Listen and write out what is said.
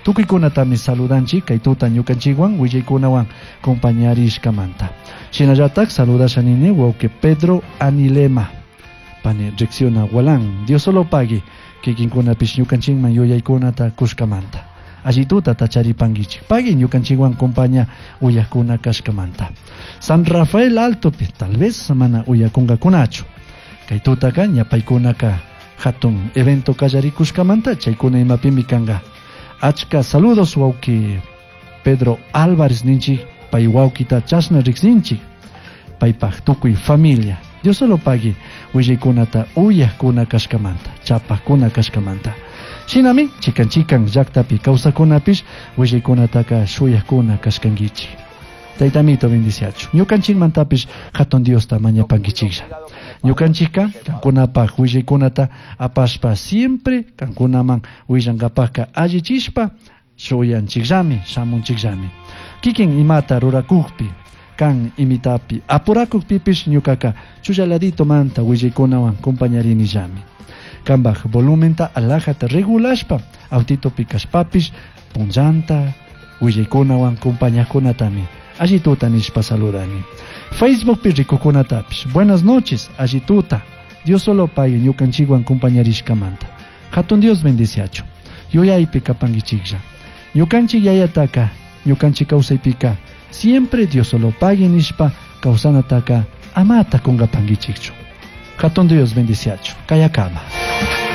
Tukuykunatami saludanchik kay tuta ñukanchikwan willaykunawan compañarishkamanta. Shinallatak saludasha nini wawqi Pedro Anilema. Pani riksiuna Gualán. Dios solo pagui kikinkunapish ñukanchikman yuyaykunata kushkamanta. Alli tutata charipankichik. Pagui ñukanchikwan compaña uyakuna kashkamanta. San Rafael Altopi tal vez mana uyakunkakunachu. Kay tutaka ñapaykunaka hatun evento kallarikushkamanta chaykuna imapimi kanka. Achka saludos wawqi Pedro Álvarez ninchik pay wawqita chashna riksinchik paypaj tukuy familia. Dios solo pagui willaykunata uyakuna kashkamanta, chapakuna kashkamanta. Shinami chikan chikan llaktapi kawsakunapish willaykunataka shuyakuna kashkankichik. Taytamito bendiciachu. Ñukanchikmantapish hatun Diosta mañapankichiklla. Ñukanchikka kankunapaj willaykunata apashpa siempre kankunaman willankapajka allichishpa shuyanchikllami, shamunchikllami. Kikin imata rurakukpi, kan imitapi apurakukpipish ñukaka chullaladito manta willaykunawan compañarinillami. Kambaj volumenta alajata regulashpa autitopi kashpapish punllanta willaykunawan compañakunatami alli tuta nishpa saludani. Facebookpi rikukunatapish buenas noches alli tuta. Dios solo pague ñukanchikwan compañarishkamanta. Hatun Dios bendiciachu. Yuyaypi kapankichiklla. Ñukanchik yayataka, ñukanchik kawsaypika siempre Dios solo pague nishpa kawsanataka amata kunkapankichikchu. Hatun Dios bendiciachu. Kayakama.